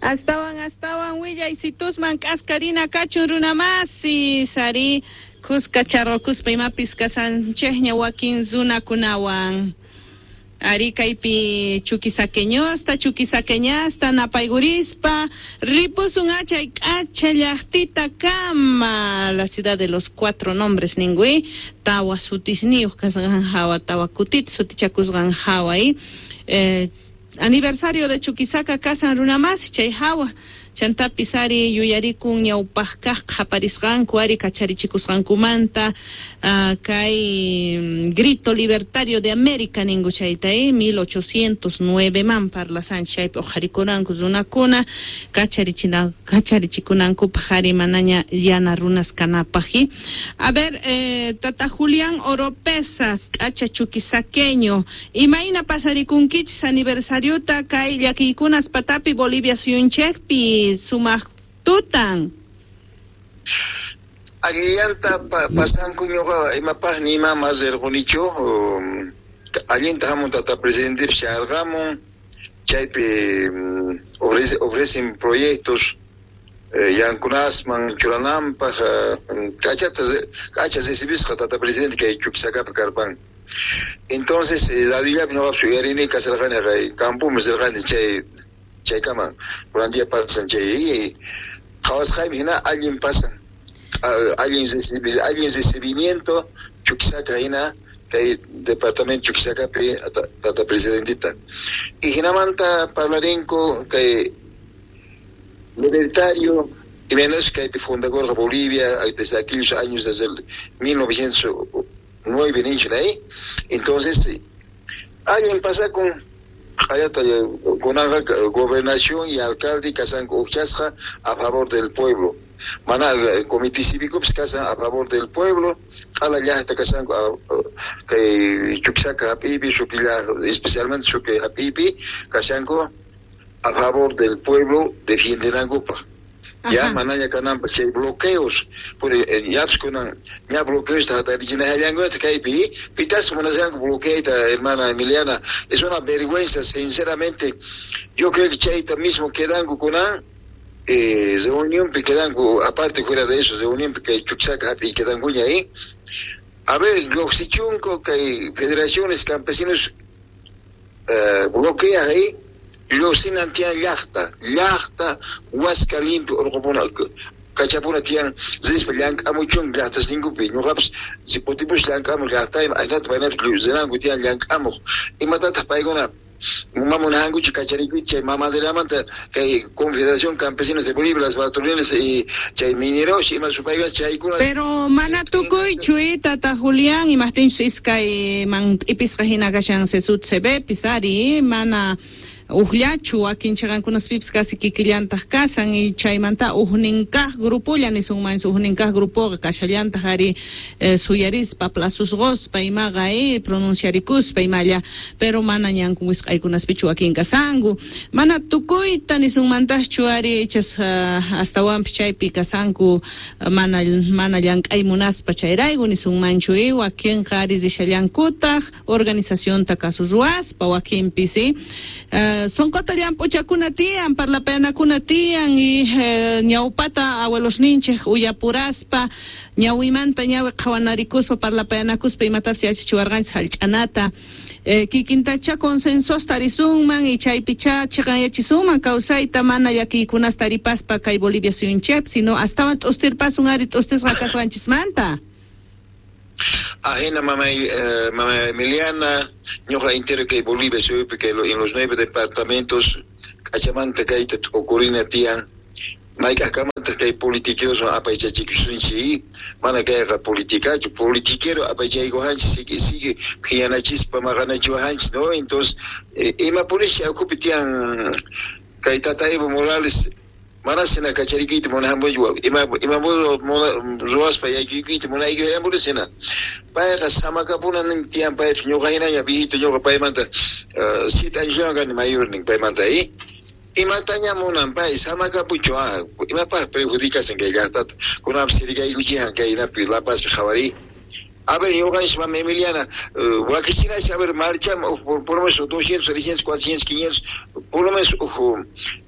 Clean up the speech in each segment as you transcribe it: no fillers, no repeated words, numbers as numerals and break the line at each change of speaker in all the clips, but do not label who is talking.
Astawan astawan willaysitusman k'askarina kachun runamasi sari kuska charqukuspa imapis kasanchikña wakin runakunawan. Ari kaypi chukisaqueñosta chukisaqueñasta napaykurispa ripusun achay k'acha llaqtita kama, la ciudad de los cuatro nombres ningui, tawa sutisniyuq kasqan hawa, tawa kutita sutichakusqan hawa, aniversario de Chuquisaca kasan runamasi chay hawa, chantapis ari yuyarikun ñawpaq kaq qhaparisqanku ari kacharichikusqankumanta, kay grito libertario de América ninku chayta, 1809 man parlasanchik chaypi uqharikuranku runakuna kacharichikunankupaq ari manaña llana runas kanapaq. A ver, tata Julián Oropesa, k'acha chuquisaqueño, imayna pasarikunkichis aniversariota kay llakiykunas patapi Bolivia suyunchikpi sumaq tutan?
Allillanta pasanku ñuqa imapaq ni ima mas rirqunichu, allinta hamun tata presidente sharqamun, chaypi ofrecen proyectos yankunasman churananpaq, k'achata k'acha recibisqa tata presidente kay Chuquisacapi karpan. Entonces radiollapi ñuqapis uyarini kasarqani kay campoman rirqani chay chaykaman kunan día pasan chay qhawasqaymi hina allin pasan, allin recibimiento Chuquisaca hina kay departamento Chuquisacapi tata presidentita. Y hinamanta parlarinku kay libertario y menos kaypi fundakurqa Bolivia desde aquellos años, desde el 1909 ninchu ahí. Entonces allin pasakun hayata kunanqa gobernación y alcalde kasanku uqchasqa a favor del pueblo, mana comité cívico pues kasan a favor del pueblo, q'ala llaqta kasanku kay Chuquisaca hap'iypi, Suqui especialmente Suqui hap'iypi kasanku a favor del pueblo defiendenankupaq. Ya manaña kananpaq chay bloqueos, yapis kunan ña bloqueos hatarichinallankunata kaypi, pitas munashanku bloqueayta, hermana Emiliana, es una vergüenza, sinceramente. Yo creo que chayta mismo quedanku kunan reunionpi quedanku, aparte fuera de eso, reunionpi kay Chuquisaca hap'iy quedankuña ahí. A ver, lluqsichunku kay federaciones campesinos bloquea ahí, lluqsinan tiyan llaqta, llaqta huasca limpio urqupuna kachapuna tiyan rispa llank'amuchun llaqtasninkupi, ñuqapis si kutipus llank'amuq llaqtayman aynata paynapis rinanku tiyan llank'amuq, imatataq paykuna mamunankuchu kacharikuy chay mamaderamanta kay Confederación Campesinos de Bolivia, las patrulleras y chay mineros ima supaykuna chaykuna.
Pero mana tukuychu, tata Julián, imaqtinchus iskay man t'ipisqa hina kashan CESUD CB ari mana uqllachu wakin chiqankunaspipis casi kikillantaq kasan y chaymanta ujnin kaq grupolla nisunman ujnin kaq grupoqa kashallantaq ari suyarispa plazusqospa imaqa pronunciarikuspa imalla, pero mana ñanku wisq'aykunaspichu wakin kasanku mana tukuyta nisunmantaqchu ari ichas astawanpis chaypi kasanku mana mana llank'ay munaspa chayrayku nisunmanchu wakinqa ari rishallankutaq organizacionta kasu ruwaspa wakinpis sonqota llamp'uchakuna tiyan parlapayanakuna tiyan y ñawpata abuelosninchik uyapuraspa ñawimanta ñawi qhawanarikuspa parlapayanakuspa imatapis yachachiwarqanchik hallch'anata kikintacha consensosta tarisunman y chaypicha chiqanyachisunman kawsayta mana llakiykunasta taripaspa kay Bolivia suyunchikpi sino astawan t'ustirpasun ari t'ustisqa kasqanchismanta.
Ajena mamá, mamá Emiliana, ñuqa entero kay Bolivia suyupi kay en los 9 departamentos k'achamanta kayta t'ukurina tiyan mayk'aqkamantaq kay politiqueros apaychachikusunchik, mana kayqa politicachu, politiquero apaychaykuhanchik sigue sigue phiñanachispa maqanachiwahanchik, ¿no? Entonces imapunish ukhupi tiyan kay tata Evo Morales mana sina kacharikuyta munahampuchu, ima ima ruwaspa yaykuyta munaykuhampuchu sina payqa samakapuna nin tiyan paypis ñuqa hinaña viejito ñuqa paymanta 7 años kani mayor nin paymanta imataña munan pay samakapuchu imapaq perjudicasan kay llaqtata kunanpis sirikaykuchihan kay inapi La Pazpi qhawariy. A ver, ñuqanchis mama Emiliana, wakichinash, a ver, marcham, por lo menos 200, 300, 400, 500, por lo menos,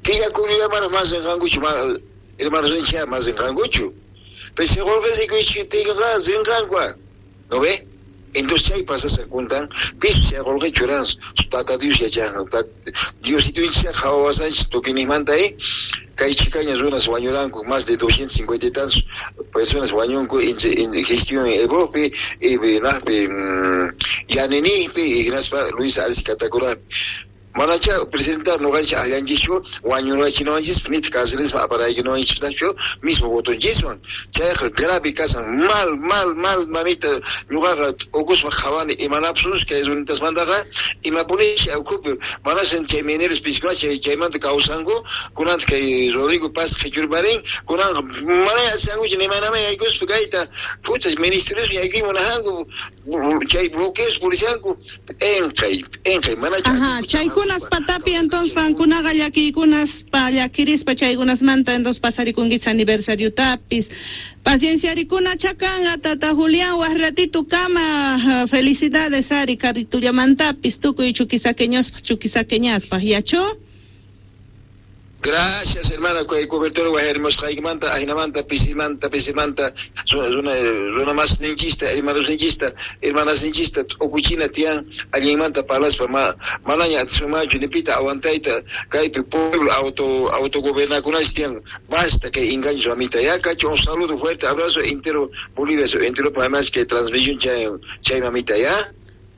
killa kuyulla más rinqankuchu, hermanos ninchik más rinqankuchu. Pero si qulqi rikuychiptinqa rinqanku, ¿no ve? Entonces chay pasasqa kuntan, pis chay qulqi churan, tata Dios yachan, Diosito qhawawasanchik tukuynimanta, kay chikaña runas wañuranku, más de 250 y tantos personas wañunku en gestión Evopi, y Yaninipi, y hinaspa Luis Arce Catacurapi. Manacha presentar noqanchik akllanchikchu wañurachinawanchis nit cárceles aparaykunawanchistachu mismo votonchiswan chayqa grave kasan mal mal mal mamita ñuqaqa ukuspa qhawani imanapsus kay runitasmantaqa imapunishi ukhupi manasan chay mineros piskuna chay chaymanta kawsanku kunanta kay Rodrigo Paz qhichurparin kunanqa mana asankuchu nimanamay yaykuspa kayta pucha ministerios yaykuy munajanku chay bloqueos purishanku enqay enqay mana
chaykunas patapi entonces qankunaqa llakiykunas pa llakirispa chaykunasmanta entonces pasarikunkis aniversariotapis pacienciarikuna chakanqa tata Julián waj ratito kama felicidades ari carritullamantapis tukuy chuquisaqueñospaj chuquisaqueñaspaj yacho.
Gracias, hermana, kay cobertura wajarimusqaykimanta, ajinamanta, pisimanta, pisimanta, runa mas ninchista, hermanos ninchista, hermanas ninchista, ukuchina tiyan, allinmanta parlaspa, manaña atisunmanchu, nipita aguantayta, kaypi pueblo autogobernakunash tiyan, basta que engaños mamita, ya cacho, un saludo fuerte, abrazo entero Bolivia, entero además que transmisión chay mamita, ya.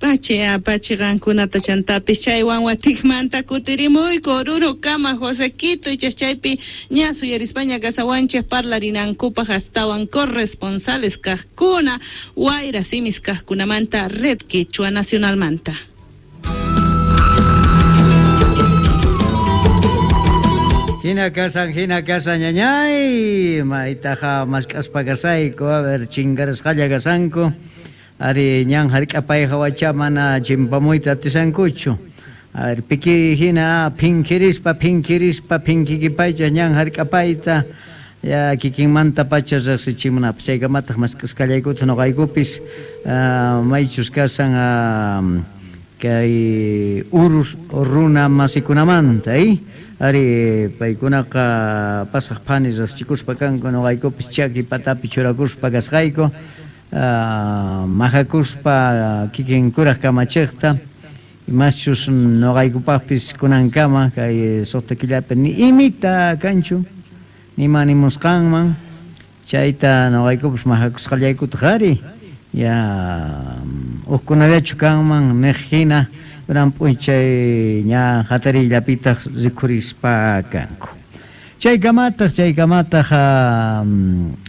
Pachi, apachi qankunata chantapis chaywan watikmanta kutirimuyku Oruro kama Josequito ichas chaypi ña suyarispaña kasawanchik parlarinankupaq astawan corresponsales kaqkuna wayra simis kaqkunamanta Red Quechua Nacionalmanta.
Hina kasan ñañay maytaqa mask'aspa kasayku a ver chinkarasqalla kasanku. Ari ñan hark'apay hawacha mana chimpamuyta atisankuchu. A ver, piki hina phinkirispa phinkirispa phinkikipaycha ñan hark'apayta ya kikinmanta pacha riqsichimunapaq chaykamataq mask'asqallaykuta nuqaykupis maychus kasan kay urus runa masikunamanta ari paykunaqa pasaq phani riqsichikuspa kanku nuqaykupis chaki patapi churakuspa kasqayku. Majakuspa kikin kuraq kamachiqta imaschus nuqaykupaqpis kunankama kay suqta killapi ni imita kanchu nima nimusqanman chayta nuqaykupis majakusqallaykutaq ari ya hukkunallachu kanman niq hina kunan p'unchay ña hatariyllapitaq rikhurispa kanku. Chaykamataq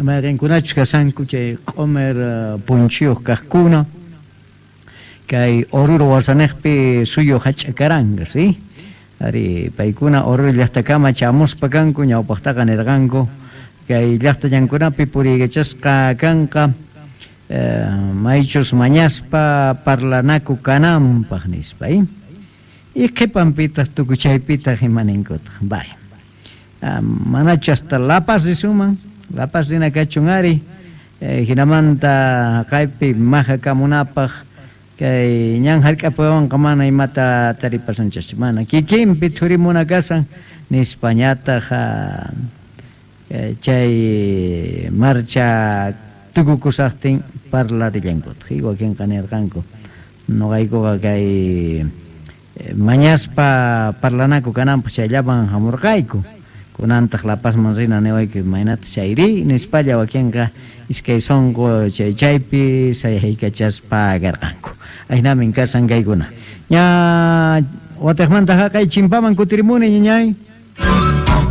mayqinkunachus kasanku chay q'umir punchiyuq kaqkuna kay Oruro wasaniqpi suyu hach'akaranqa ¿sí? Ari paykuna Oruro llaqtakama chamuspa kanku ñawpaqtaqa nirqanku kay llaqtallankunapi puriykachasqa kanqa maychus mañaspa parlanaku kananpaq nispa y qhipanpitaq tukuchaypitaq imaninkutaq vaya. Manachu hasta La Paz risuman, La Paz rina kachun ari, hinamanta kaypi majakamunapaq kay ñan hark'apuwanqa mana imata taripasunchaschu, mana kikinpi thurimuna kasan nispañataq chay marcha tukukusaqtin parlarillankutaq, wakinqa nirqanku nuqaykuqa kay mañaspa parlanaku kananpaq chayllaman hamurqayku. Kunantaq La Pazman rina niwayku imaynata chayri nispalla wakinqa iskay sunqu chay chaypi sayaykachaspa karqanku. Aynamin kasan kaykuna. Ña watiqmanta haqay chimpaman kutirimuni ñañay.